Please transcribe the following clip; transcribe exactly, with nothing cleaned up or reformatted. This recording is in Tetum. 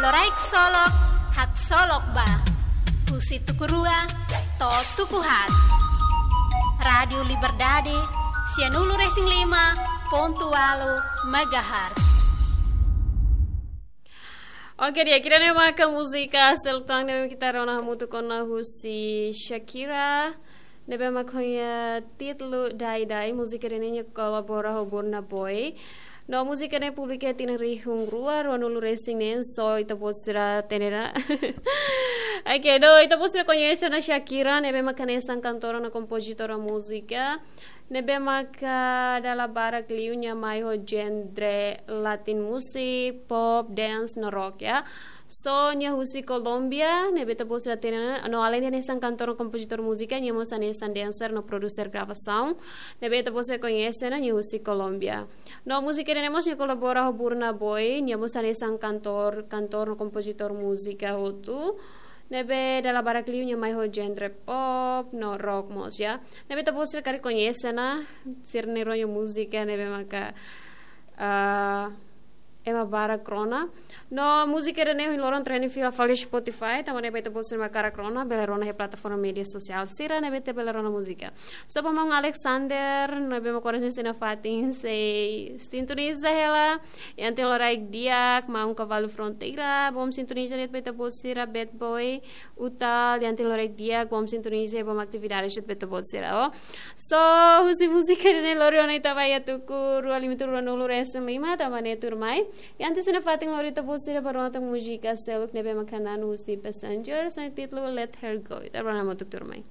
Loraik Solok, haksolok ba. Husi tuku rua to'o tuku haat. Rádiu Liberdade, sianulu-resin-lima pontu ualu megahertz. Oke, di'ak, ida-ne'e maka múzika seluk tan ne'ebé mak ita rona hamutuk ona husi Shakira, ne'ebé mak ho nia títulu Die Die. Múzika ida-ne'e nia kolabora ho Burna Boy. No múzika ne'e publika iha tinan rihun rua ruanulu-resin-neen, so ita-boot sira hatene ona. Oke, no ita-boot sira koñese ona Shakira, ne'ebé mak hanesan kantora no kompozitora múzika ne'ebé maka dala barak liu nia mai ho genre Latin music, pop, dance no rock, ya. So nia husi Kolómbia, ne'ebé ita-boot sira hatene ona, no alende hanesan kantora no kompozitora múzika, nia mós hanesan dancer no produser gravasaun, ne'ebé ita-boot sira koñese ona, nia husi Kolómbia. No múzika ida-ne'e mós nia kolabora ho Burna Boy, nia mós hanesan kantor, kantor no kompozitor múzika hotu. Ne'ebé dala barak liu nia mai ho genre pop no rock mós, ya. Ne'ebé ita-boot sira karik koñese ona, sira-nia rona múzika ne'ebé maka, ah, ema barak rona. No múzika ida-ne'e ohin loron trending fila fali Spotify, tanba ne'e ba ita-boot sira mak hakarak rona, bele rona iha plataforma média sosiál sira ne'ebé ita bele rona múzika. So ba maun Alexander, ne'ebé mak oras ne'e sei iha fatin, sei sintoniza hela. Iha tinan loraik di'ak, maun Kavalu Fronteira, bom sintoniza de'it ba ita-boot sira, Bad Boy, Utal, iha tinan loraik di'ak, bom sintoniza, bom atividade de'it ba ita-boot sira, o. So, husi múzika ida-ne'e lori ona ita ba iha tuku rua lima, tuku ruanulu-resin-lima, tanba ne'e tuirmai. Iha tinan ne'e fatin lori ita-boot sira ba rona tan múzika seluk ne'ebé mak hanan husi Passengers, ho títulu Let Her Go. Ita ba rona hamutuk tuirmai.